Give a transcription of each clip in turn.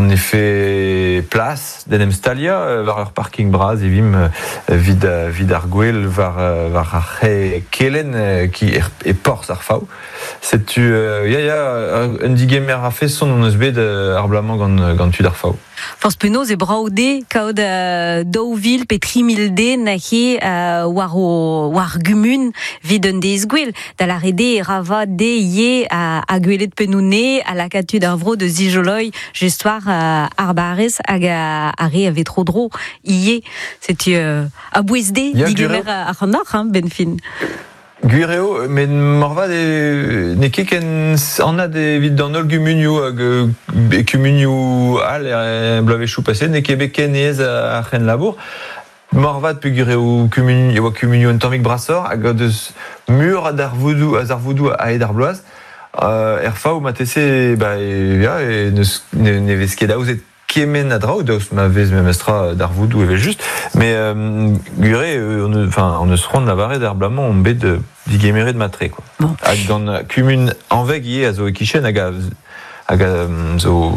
on efe plas d'en em stalia war ur parking bras evim vid, vid ar gwel war, war ar c'he kelen ki er, e porz ar faou. Setu, ya, ya, un digemer a feson on eus bet ar blamañ gant, gant tud ar faou. Forz penaos e brav de kaout 2000 pe 3000 den he war o war gumun vid un deiz gwell. Da lâret eo e ra vat de ivez ha gwelet pennoù-ne ha lakaat tud ar vro da zijoloi just war ar barrez hag ar re a vez tro-dro ivez. Setu a-bouez de digemer ac'hanoc'h, hein, benn fin. Gwir eo, met moarvat e n'eo ket ken anat evit d'an holl gumunioù hag e kumunioù all er bloavezhioù paseet n'eo ket bet ken aes ar c'henlabour. Moarvat peogwir eo kumun e oa kumunioù un tammig brasoc'h hag o deus meur a darvoudoù a zarvoudoù a-hed ar bloaz. Er faou marteze ba ya e n'eus ne vez ket aozet kement a draoù daoust ma vez memestra darvoudoù evel-just met gwir eo on enfin on eus c'hoant lavaret ar bloaz-mañ omp bet digemeret mat-tre quoi. Bon. Hag gant kumun Hañveg ivez a zo e-kichen hag a hag a zo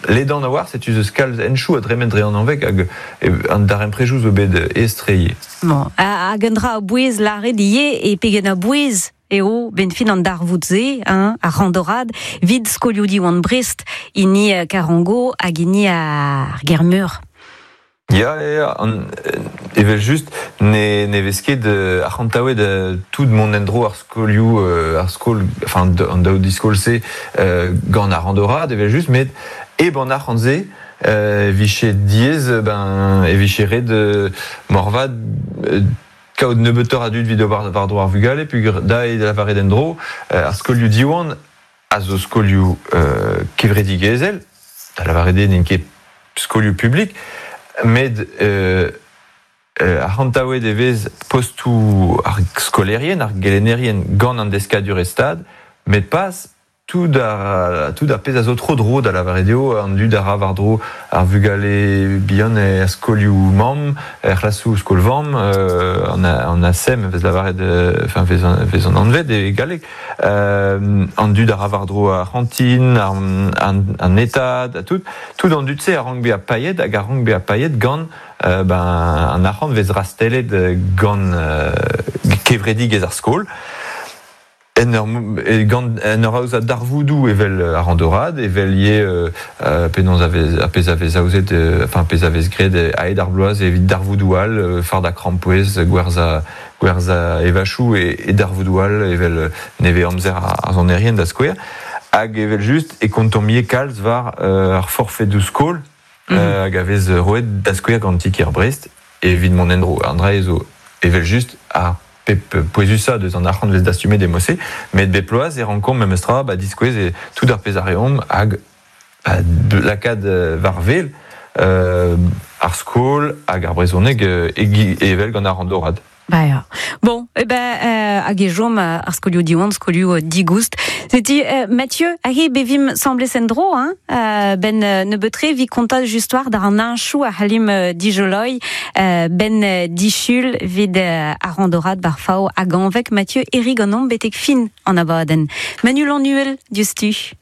ledan a-walc'h setu eus kalz henchoù a dremen dre an Hañveg hag an darempredoù zo bet aes-tre ivez. Bon. Hag un dra a-bouez lâret ivez e pegen a-bouez eo benn fin an darvoud-se, hein, ar randorad, 'vit skolioù Diwan Brest, hini Karango hag hini ar Germeur. Ya, ya, ya, an, evel-just, ne, ne vez ket arc'hantaouet tout mont en-dro ar skolioù, ar skol, enfin an daou diskol-se gant ar randorad, evel-just, met hep an arc'hant-se, e vije diaes, ben, e vije ret moarvat kaout nebeutoc'h a dud evit ober war-dro ar vugale peogwir da eo da lavaret en-dro ar skolioù Diwan a zo skolioù kevredigezhel, da lavaret eo n'int ket skolioù publik, met arc'hantaouet e vez postoù ar skolaerien, ar gelennerien gant an deskadurezh Stad, met pas Tout ar, tout ar pezh a zo tro-dro, da lavaret eo an dud a ra war-dro ar vugale bihan er skolioù-mamm, er c'hlasoù skol-vamm, an, an ASEM vez lavaret, enfin vez, vez an anvet e galleg, an dud a ra war-dro ar c'hantin, an, an, an etad, ha tout. Tout an dud-se a rank bezañ paeet hag a rank bezañ paeet gant ben, an arc'hant vez rastellet gant kevredigezh ar skol. En ur, gant, en ur aozañ darvoudoù evel ar randorad, evel ivez penaos a vez, ar pezh a vez aozet, enfin pezh a vez graet a-hed ar bloaz evit darvoudoù all, fardañ krampouezh, gwerzhañ gwerzhañ evachoù e, e darvoudoù all evel nevez-amzer ar sonerien da skouer. Hag evel-just e kontomp ivez kalz war ar forfedoù skol hag a vez roet da skouer gant ti-kêr Brest evit mont en-dro. An dra zo evel-just ar pep pouezusañ deus an arc'hant vez dastumet e mod-se, met bep bloaz e rankomp memestra ba diskouez e tout ar pezh a reomp hag ba lakaat war wel ar skol hag ar brezhoneg evel gant ar randorad. Ba ya. Bon, eh ben, hag e chom ar skolioù Diwan, skolioù digoust. Setu, Mathieu, ahe bevim semblez en-dro, hein, ben nebeut-tre vi kontañ just war d'ar an heñchoù a c'hallimp dijoloi ben disul 'vit ar randorad bar Faou hag Hañveg. Mathieu Herri ganeomp betek fin an abadenn. Manu Lannuel, diouzhtu.